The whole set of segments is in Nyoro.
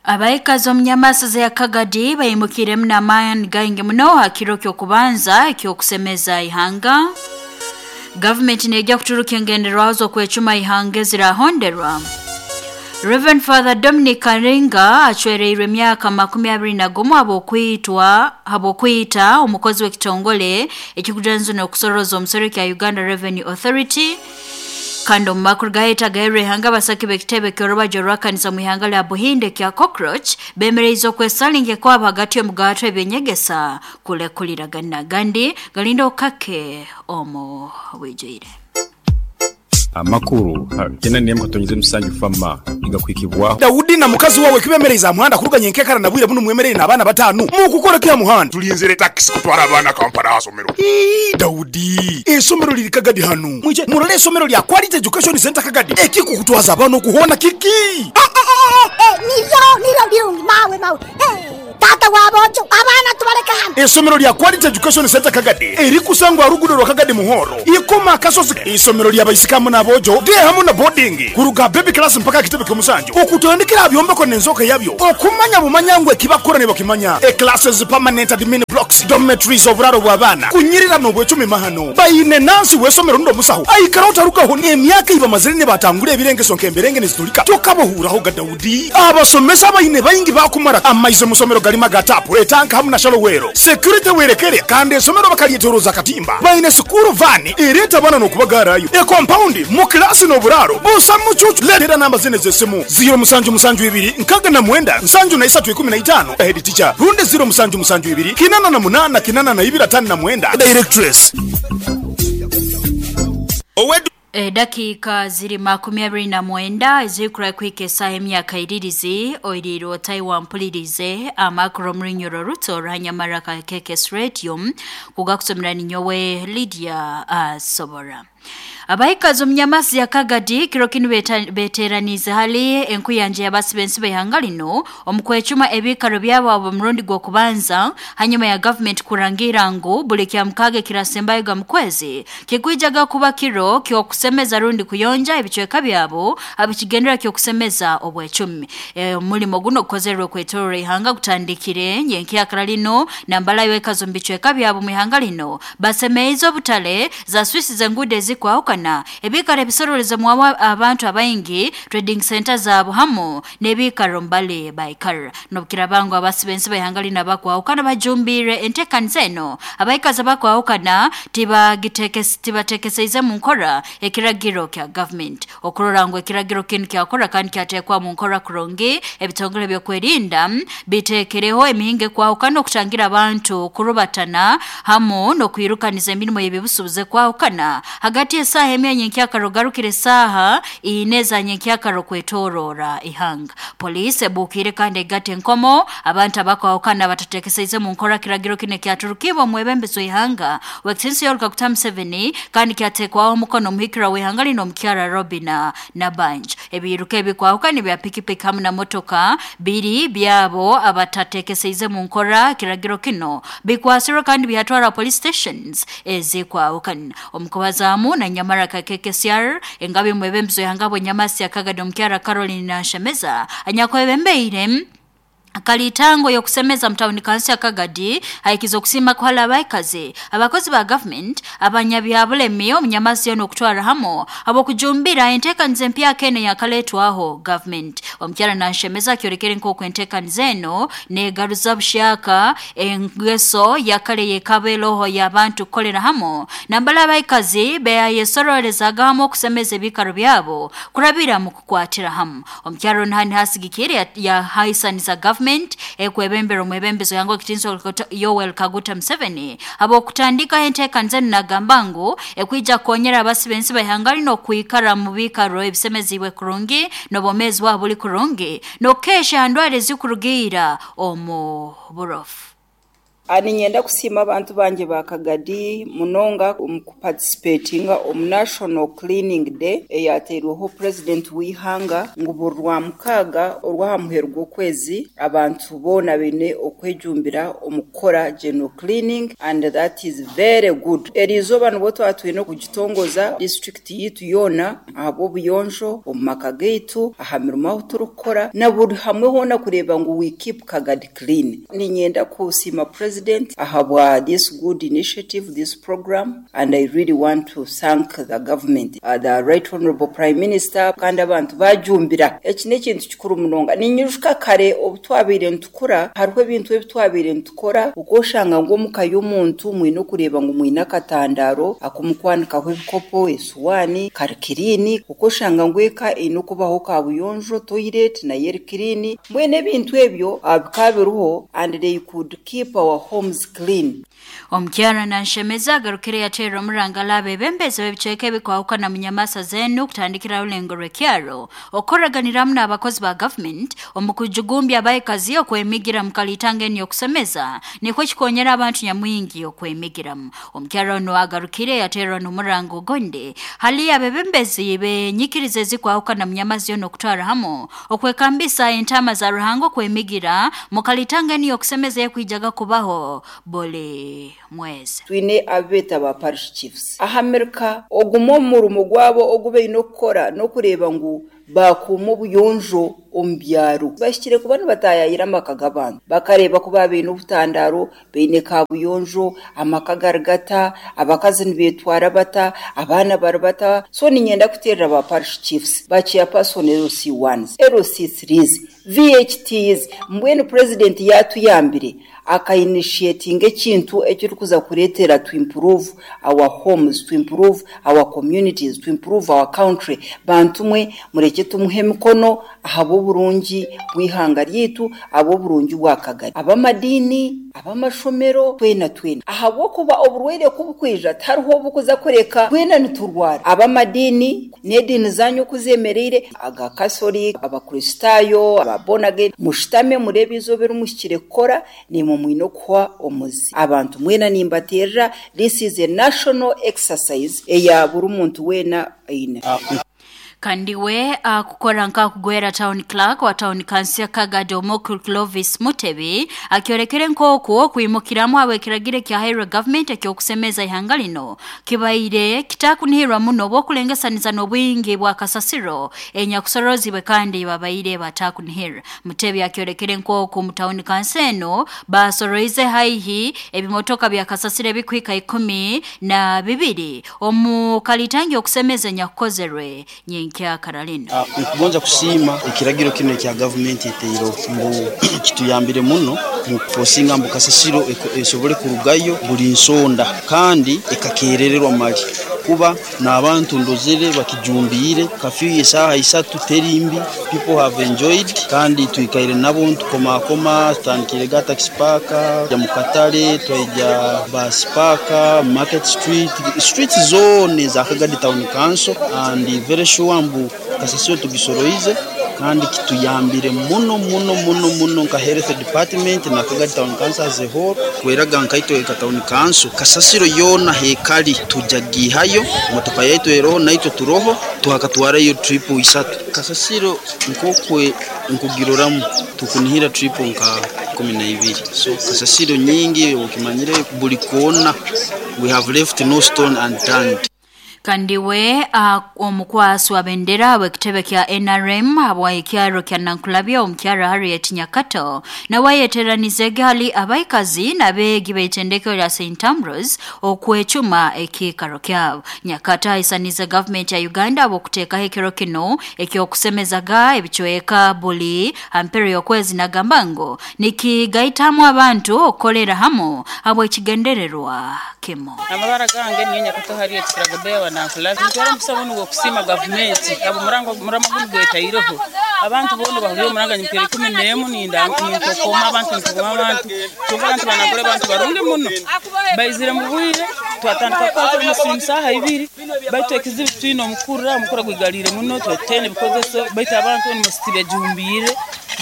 Abaikazi omu nyamasaza ya Kagadi baimukiremu n'amaani gaingi muno ha kiro ky'okubanza eky'okusemeza ihanga. Gavumenti neija kuturuka engenderwaho z'okwecuma ihanga ezirahonderwa. Reverend Father Dominic Karinga acwereirwe emyaka 21 habw'okwitwa habw'okwita omukozi w'ekitongole ekikujanzu n'okusoroza omusoro kya Uganda Revenue Authority. Kandi omu makuru gaheta gaherwa ihanga, abasaki b'ekitebe ky'orubajo rw'akanisa mu ihanga lya Buhinde kya Cockroach bemereize okwesalinge kwabo hagati y'omugato ebyenyegesa kulekuliragana. Gandi galinda okake omu bwijwire. Amakuru kenda n'emu katonyeze musanju fama igakuhikibwaho. Daudi na mukazi wawe kibemereize aha muhanda kuruga nyenkekara na bwire bunu mwemereire n'abaana batano. Mukukora ki aha muhanda? Tulinzire takisi kutwara abaana Kampala aha somero. Ii, Daudi, esomero liri Kagadi hanu. Mwije murole esomero lya Quality Education Center Kagadi. Ekikukutwaza abaana okuhoona kiki? Niryo, niryo birungi mawe mawe. Tata w'aboojo, abaana tubaleke hano. Esomero lya Quality Education Center Kagadi erikusangwa aha ruguudo rwa Kagadi Muhoro, Ikoma Akasozi. Isomero lya baisiki hamu n'aboojo, day hamu na boarding, kuruga baby class mpaka aha kitebe ky'omusanju, okutandikira aha byombeko n'enzooka yabyo, okumanya bumanya ngu ekibakukora nibakimanya. E classes, permanent admin blocks, dormitories, oburaaro bw'abaana, kunyirira n'obwecumi mahano. Baine nansi w'esomero rundi omusaho aikaraho tarugaho. Emyaka ei bamazire nibatangura ebirengeso nk'emberenge nizitulika, tokabahuuraho ga Daudi. Abasomesa baine baingi baakumara. Amaizi omu somero garimu aga taapu, etanka hamu na shalowero. Security werekere kandi esomero bakaryetoroza akatimba. Baine sikuuru vaani ereeta abaana n'okubagaarayo. Ekompaundi, mu kilaasi n'oburaaro busa mucuucu. Leetera namba zinu ez'esimu, ziiro musanju musanju ibiri nkaaga na mwenda nsanju na isatu ikumi na itaano, Head teacher, rundi ziiro musanju musanju ibiri kinana na munaana kinana na ibiri ataano na mwenda, Directress. Edakiika ziri 29 ezirikura kuhika esaaha emyaka iririzi oiriire otayi wampulirize amakuru omurunyoro ruto ruhanyamara ka KKS Radio kugakusomera ninyowe Lydia Asobora. Abaikazi omu nyamasi ya Kagadi kiro kinu beteraniize hali enkuyanja y'abasi b'ensi b'ihanga lino omu kwecuma ebiikaro byabo abo murundi gw'okubanza hanyuma ya gavumenti kurangira ngu buli kya mukaaga ekirasembayoga mu kwezi kikwijaga kuba kiro ky'okusemeza rundi kuyonja ebicweka byabo abikigendera ky'okusemeza obwecumi. Omulimo guno gukozerwe kwetorora ihanga gutandikire nyenkyakara lino nambalayo ekazi omu bicweka byabo mu ihanga lino basemeize obutale za swisi z'enguudo ezikwahukana ebiikaro ebisorolezemu abantu abaingi trading center zaabo hamu n'ebiikaro mbali baikara. N'obukirabangu abasi b'ensi b'ihanga lino abakwahukana bajumbiire enteekaniza eno, abaikazi abakwahukana tibatekeseize mu nkora ekiragiro kya gavumenti okurora ngu ekiragiro kinu kyakora kandi kyateekwa mu nkora kurungi. Ebitongole by'okwerinda biteekereho emihingo ekwahukana okutangira abantu kurubatana hamu n'okwirukaniza emirimo y'ebibusuubuzi ekwahukana hagati y'esaaha emwe nyenkyakaro ogarukire esaaha ine za nyenkyakaro kwetorora ihanga. Poliisi ebuukire kandi egata enkomo abantu abakwahukana batatekeseize mu nkora kiragiro kinu ekyaturukibwa omwebembezi w'ihanga w'ekitinisa Yoweri Kaguta Museveni kandi kyateekwaho omukono omuhikirwa w'ihanga lino omukyara Robina Nabanja. Ebiiruka ebikwahukana ebya pikipiki hamu na motoka biri byabo abatatekeseize mu nkora kiragiro kino bikwasirwe kandi byatwara police stations ezikwahukana. Omukubazaamu na nyamara ka KKCR engabi mwebembezi w'ihanga bw'enyamasi ya Kagadi omukyara Caroline Nanshemeza anyakwebembeire kalitango y'okusemeza mutawuni kansi ya Kagadi haikiza okusiima kuhala abaikazi abakozi ba gavumenti abanyabyabulemi omunyamasi yoona okutwara hamu habw'okujumbira enteekaniza empyaka eno eyakaletwaho gavumenti. Omukyara Nanshemeza akyorekere nk'oku enteekaniza eno neegaruza bushyaka engeso yakare yekaba eroho y'abantu kukolera hamu nambala abaikazi beayesororezaga hamu okusemeza ebiikaro byabo kurabira mu kukwatira hamu. Omukyara onu hani hasigikire yahaisaniza gavumenti ekwebembera omwebembezi yangu ekitinisa Yoweri Kaguta Museveni habw'okutandikaho enteekaniza enu nagamba ngu ekwija kukonyera abasi b'ensi b'ihanga lino okwikara mu biikaro ebisemeziibwe kurungi n'obwomeezi bwabo buli kurungi n'okukeesha ha ndwara ezikurugiira omu burofu. Ninyenda kusiima abantu bangye ba Kagadi munonga omu kuparticipatinga omu National Cleaning Day eyateirweho President w'eihanga ngu buri Rwamukaaga orw'aha muheru gw'okwezi abantu boona baine okwejumbira omu kukora general cleaning and that is very good. Eriizooba nibwo twaba twine okugitongoza district yaitu yoona ahabw'obuyonjo omu maka gaitu, aha mirimo ahu turikukora na buri hamwe hoona kureeba ngu we keep Kagadi clean. Niinyenda kusiima President ahabwa this good initiative, this program and I really want to thank the government, the right honourable Prime Minister kandi abantu baajumbira. Eki n'ekintu kikuru munonga. Ninyijuka kare obu twabaire nitukura hariho ebintu ebi twabaire nitukora okooshanga ngu omuka y'omuntu mwine okureeba ngu mwine akatandaaro akumukwanikaho ebikopo, esuwaani, kari kiriini, okooshanga ngu eka eine okubaho kaabuyonjo, toilet nayo eri kiriini. Mbwenu ebintu ebyo bikaba biriho and they could keep our homes clean. Omukyara Nanshemeza agarukire yaterera omurangala abebembezi b'ebicweka ebikwahukana mu nyamasa zenu kutandikira rulengo rw'ekyaro okukoraganiramu n'abakozi ba government omu kujugumbya abaikazi okwemigira mu kalitanga eni okusemeza nikwo kikonyera abantu nyamwingi okwemigiramu. Omukyara ono agarukire yaterera n'omurango ogonde hali abebembezi benyikiriza ezikwahukana mu nyamazi yoona okutwara hamu okwekambisa entama za Ruhanga okwemigira mu kalitanga eni okusemeza ekwijaga kubaho buli mwezi. Twine abeeta ba parish chiefs aha Amerika ogumwe omu murimo gwabo ogu baine okukora n'okureeba ngu bakuuma obuyonjo omu byaro. Bahikire kuba nibatayayira amaka g'abantu bakareeba ku baine obutandaro, baine kabuyonjo, amaka gari gata, abakazi nibetwara bata, abaana bari bata. So ninyenda kuterera ba parish chiefs, ba chairperson LC1s, LC3s, VHTs, mbwenu president yatuyambire akainitiatinga ekintu ekirikuza kureetera to improve our homes, to improve our communities, to improve our country. Bantu mwe mureke tumuhe emikono ahabw'oburungi bw'ihanga ryaitu, ahabw'oburungi bwa Kagari. Ab'amadiini, ab'amashomero, twena twena. Ahabw'okuba oburwaire kubukwija tihariho obukuza kureka twena niturwara. Ab'amadiini n'ediini zanyu oku zemereire, aga Catholic, Abakristaayo, aba born again, mushutame mureebe eizooba erimuhikire kukora nimwe mwine okuhwa omuzi. Abantu mwena nimbaterera, this is a national exercise eya buri muntu weena aine. Kandi we akukora nk'akugwera town clerk wa town council ya Kagadi Omukuru Clovis Mutebi akyorekere nk'oku okwimukiramu ab'ekiragiro ekyahairwe government ekyokusemeza ihanga lino kibaire kitakunihirwa muno obw'okulengesaniza n'obwingi bwa kasasiro enyakusorozibwe kandi babaire batakunihira. Mutebi akyorekere nk'oku mu town council eno basoroize haihi ebimotoka bya kasasiro ebikuhika 12 omu kalitangi okusemeza enyakukozerwe nyenkya Karalina. Nkugonza kusiima ekiragiro kino ekya gavumenti eteiro mbu kituyambire muno mu kufosinga mbu kasasiro esobole kurugayo buli nsonda kandi ekakerererwa mali kuba n'abantu ndozere bakijumbiire kafyu esaaha isatu terimbi people have enjoyed kandi twikaire nabo ntukomakoma tutandikire ga taxi park ja mu katale twaija bus park market street streets zone za Kagadi town council and very sure mbu kasasiro tugisoroize kandi kituyambire muno muno muno muno nka health department na Kagadi town council as a whole kweraga nkaitwe ka town council kasasiro yona hekali tujagihayo motoka yaitu eroho naitwe turoho tuhakatwarayo trip isatu kasasiro nkokwe nkugiroramu tukunihira trip nka 12 so kasasiro nyingi ukimanyire buli kona we have left no stone unturned. Kandi we omukwasi wa bendera w'ekitebe kya NRM habwa ekyaro kya Nankulabya omukyara Harriet Nyakato nawe yeteranizege hali abaikazi n'abeegi b'eitendekero lya St Ambrose okwecuma ekiikaro kyabo. Nyakato ahisanize gavumenti ya Uganda habw'okuteekaho ekiro kino ekyokusemezaga ebicweka buli hampero y'okwezi nagamba ngu nikigaitamu abantu okukolera hamu habw'ekigendererwa kimu. Amabara gange niyo Nyakato Harriet Kiragobeya Nankulabya ntwara omusabo nugwo kusiima gavumenti abo murango murama guno gwetaireho abantu boona bahuriire omuranga nyimpera 11 ninda ninkokoma abantu nkokoma abantu kyonka abantu banakora abantu barungi muno baizire mu bwire twatandika kwata omusimu saaha ibiri baitu ekizibu twine omukura omukura gwigalire muno twetene bikozeso baitu abantu ni musitibye jumbiire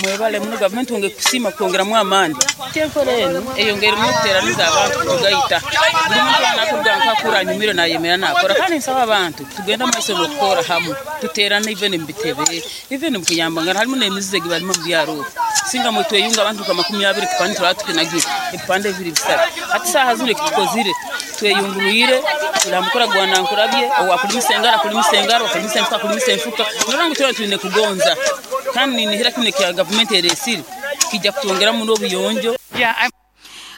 Mwebale muno gavumenti wonge kusiima kutwongeramu amaani. Enkora enu eyongeire muno okuteeraniza abantu kutugaita. Buli muntu weena akuruga nkakura anyumire nayemera nakora. Kandi nsaba abantu tugende mumaiso n'okukora hamu, tuteerane even omu bitebe, even omu kuyambangana. Harimu n'emizizo egi barimu omu byaro obu. Singa mwe tweyunga abantu nka 20 ekipande turaba tukinagire, ebipande bibiri bisatu. Hati saaha zinu ekitukozire tweyungurwire, turi ha mukura gwa Nankurabye, owakulimisa engaro akulimisa engaro, owakulimisa enfuka akulimisa enfuka. Norora ngu twena twine kugonza kandi ninihira kinu ekya gavumenti eresire kija kutwongeramu n'obuyonjo.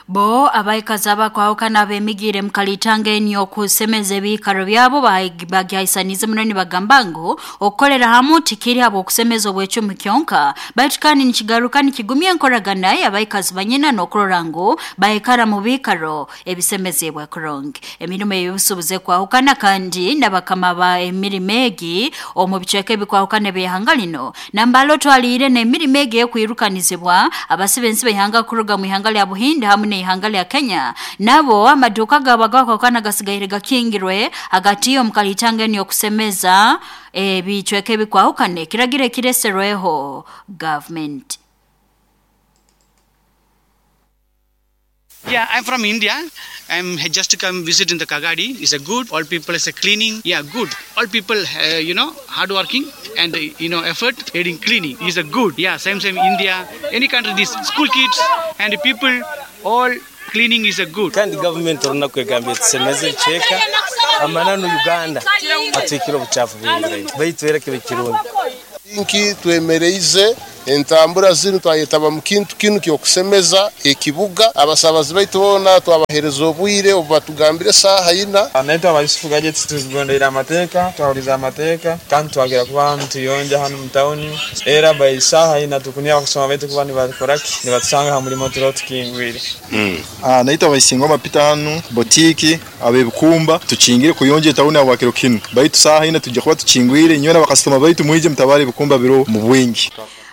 Bo abaikazi abakwahukana abemigiire mu kalitanga eni okusemeza ebiikaro byabo bagyahisaniize muno nibagamba ngu okukolera hamu tikiri habw'okusemeza obwecumi kyonka, baitu kandi nikigaruka nikigumya enkoragana y'abaikazi banyina n'okurora ngu baikara mu biikaro ebisemeziibwe kurungi. Emirimo ey'obusuubuzi ekwahukana kandi n'abakama ba emirimo egi omu bicweka ebikwahukana eby'ihanga lino nambale otwaliire n'emirimo egi ey'okwirukanizibwa abasiba ensi b'ihanga kuruga mu ihanga lya Buhindi hamu n'ihanga lya Kenya nabo amaduuka gaabo agakwahukana gasigaire gakingirwe hagati omu kalitanga enu y'okusemeza ebicweka ebikwahukana ekiragiro ekireserweho gavumenti. Yeah, I'm from India. I'm just come visit in the Kagadi. It's a good. All people is a cleaning. Yeah, good. All people, you know, hardworking and you know effort aiding cleaning is a good. Yeah, same India. Any country, this school kids and people, all cleaning is a good. Kandi government olunaku egambye tusemeze ebicweka amananu Uganda atwikire obuchafu bwingi baitu era kibe kirungi. Nki twemereize entambura zinu twayetaba mu kintu kinu ky'okusemeza ekibuga. Abasabazi baitu boona twabahereza obwire obu batugambire saaha ina. Naitwe aba Yusufu Gadgets tuzigondera amateeka, twahuriza amateeka kandi twagera kuba nituyonja hanu mu tawuni. Era by saaha ina tukunira kusoma baitu kuba nibakoraki nibatusanga ha murimo turiho tukingwire. Naitwe abaisingoma Peter hanu botiki abebikumba tukingire kuyonja etawuni habwa kiro kinu, baitu saaha ina tujja kuba tukingwire nyowe n'abakasitoma baitu mwije mutabare ebikumba biro mu bwingi.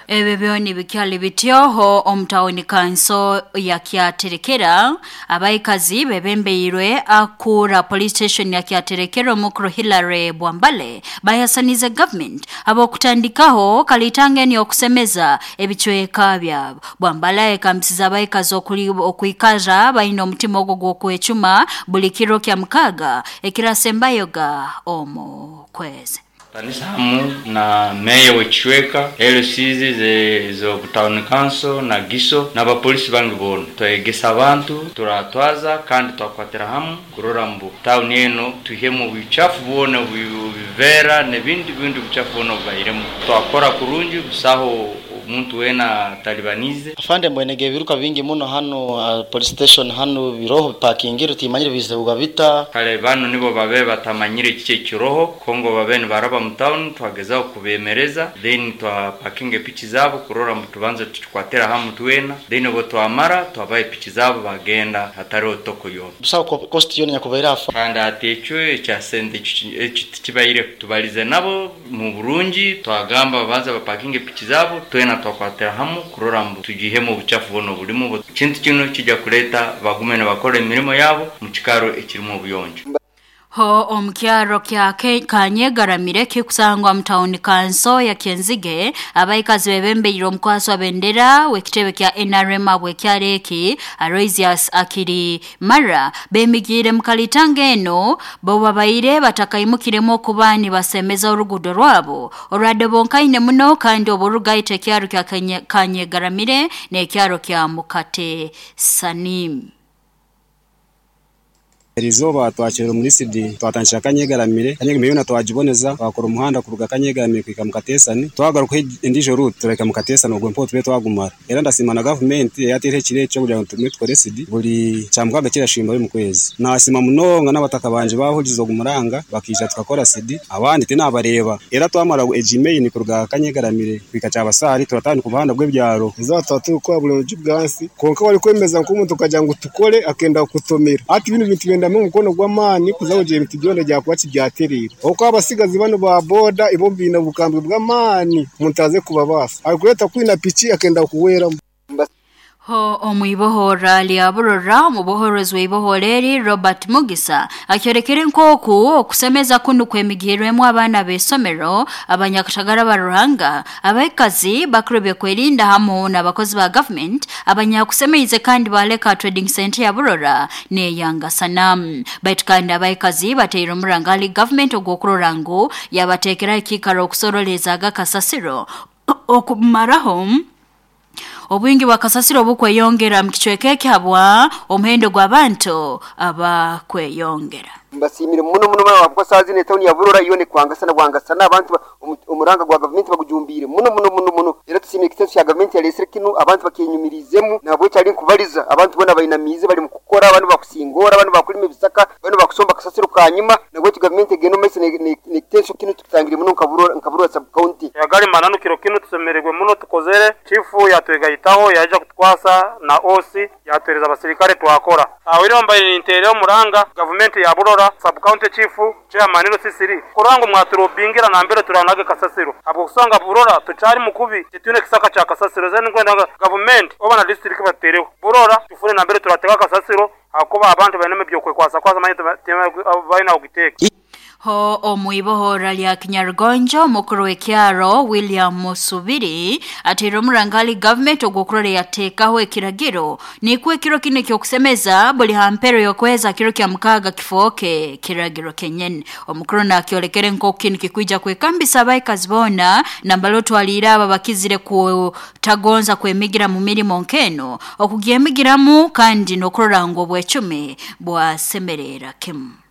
Ebyo byona bikyali bityoho omu tawuni kanso ya Kyaterekera abaikazi bebembeirwe akura police station ya Kyaterekera omukuru Hillary Bwambale bayasanize government abokutandikaho kalitanga eni okusemeza ebicweka byabo. Bwambale ekambisiza abaikazi okwikaza baine omutima ogwo gw'okwecuma buli kiro kya mukaga ekirasembayoga omu kwezi. Kanisa hamu na meya w'ekicweka, LCs zo town council na GISO n'abapolisi bangi boona. Twegesa abantu, turatwaza kandi twakwatira hamu kurora mbu town eno tuhemu obuchafu bwona bivera n'ebindi bindi buchafu bwona bubairemu. Twakora kurungi busaho omuntu wena talibanize. Afande mbwenege ebiruka bingi muno hano police station hano biroho parkingiro timanyire bizebuga bita. Kale bano nibo babe batamanyire kike kiroho Kongo babe nibaraba mu town twagezaho kubemereza then twapakinge pichi zabo kurora mutubanze tukikwatira hamu twena then bo twamara twabaye pichi zabo bagenda hatariho toko yona. Busaho cost yona nyakubaira afa. Kandi ati ekyo ekya sente kibaire tubalize nabo mu burungi twagamba babanza bapakinge pichi zabo twena twakwatira hamu kurora mbu tugihemu obuchafu buno bulimu. Kintu kino kijja kuleta bagume bakora emirimo yabo mu kikaro ekirimu obuyonjo. Ho omukyaro kya Kanyegaramire kikusangwa mu tawuni kanso ya Kyenzige abaikazi bebembeire omukwaso wa bendera w'ekitebe kya NRM abwekyareki Aloysius Akiri Mara bemigiire mu kalitanga eno bo babaire batakaimukiremu okuba nibasemeza orugudo rwabo olwadde bonkaine muno kandi oburugaita ekyaro kya Kanyegaramire n'ekyaro kya Mukate Sanim. Erizoba twakira muri CD twatandikira Kanyegaramire Kanyegaramire yona twagiboneza twakora omuhanda kuruga Kanyegaramire kwika Mukatesani twagaruka endijo route tureka Mukatesani ogwo mpo tube twagumara. Era ndasima na government yateire ekiro ekyo kugira ngu tume tukore CD buli kyamukaga kirashimba mu kwezi. Nasima munonga n'abataka banje bahugize ogumuranga bakija tukakora CD abandi tinabareba. Era twamara ejimail kuruga Kanyegaramire kwika Kyabasari turatandika obuhanda bw'ebyaro. Ezo twatuka buli rugi bwansi konka wali kwemeza nk'omuntu kagira ngu tukore akenda kutomera ati bino bintu benda mu mukono gw'amaani kuza kugira ebintu byona byakuba kibyaterera okuba abasigazi bano ba boda ibo bina bukambwe bw'amaani omuntu aze kubabasa arikureta kwina piki akenda kuweramu. Ho omwibohora lya Burora, omubohorozi w'ibohora eri Robert Mugisa akyorekere nk'oku okusemeza kunu kwemigirwemu abaana b'isomero, abanyakatagara ba Ruhanga, abaikazi bakuru byokwerinda hamu n'abakozi ba government abanyakusemeize kandi baleka trading center ya Burora n'eyangasana. Baitu kandi abaikazi bateire omuranga hali government ogw'okurora ngu yabateekeraho ekiikaro okusoroleza agakasasiro okumaraho obwingi bwa kasasiro obukweyongera mu kicweka eki habwa omuhendo gw'abantu abakweyongera. Mbasimire muno muno muno ahabwokuba saaha zinu etawuni ya Burora yoona ekwangasana bwangasana abantu omuranga gwa gavumenti bagujumbiire muno muno muno muno era tusiimire ekitenso kya gavumenti yaleesire kinu abantu bakyenyumiriizemu. Nahabweki hali nkubaliza abantu boona bainamiize bali mukukora, abandi bakusingoora, abandi bakulima ebisaka, abandi bakusomba kasasiro kanyima. Nahabweki gavumenti egende omu maiso n'ekitenso kinu tukitangire muno nka Burora nka Burora sub county. Agali mananu kiro kinu tusemererwe muno tukozere, chifu yatwegaitaho yaija kutukwasa na OC yatuhereza abasirikare twakora. Aho iriho mbaire ninteera omuranga gavumenti ya Burora, sub county chief, chairman LC3 kurora ngu mwaturobingira nambere turanaga kasasiro habw'okusanga Burora tukyali mukubi titwine kisaka kya kasasiro. Then nkwenda ngu gavumenti oba na district batutereho Burora tufune nambere turateka kasasiro ahakuba abantu bainemu eby'okwekwasakwasa manya tibaine ah'okugiteeka. Ho omwibohora lya Kinyarugonjo, omukuru w'ekyaro William Musubiri ateire omuranga hali government ogw'okurora yateekaho ekiragiro nikwo ekiro kinu eky'okusemeza buli ha mpero y'okwezi kiro kya mukaaga kifooke kiragiro kenyini. Omukuru nakyolekere nk'oku kinu kikwija kwekambisa abaikazi boona nambali otwaliire abo abakizire kutagonza kwemigira mu mirimo nk'eno okugyemigiramu kandi n'okurora ngu obwecumi bwasemerera kimu.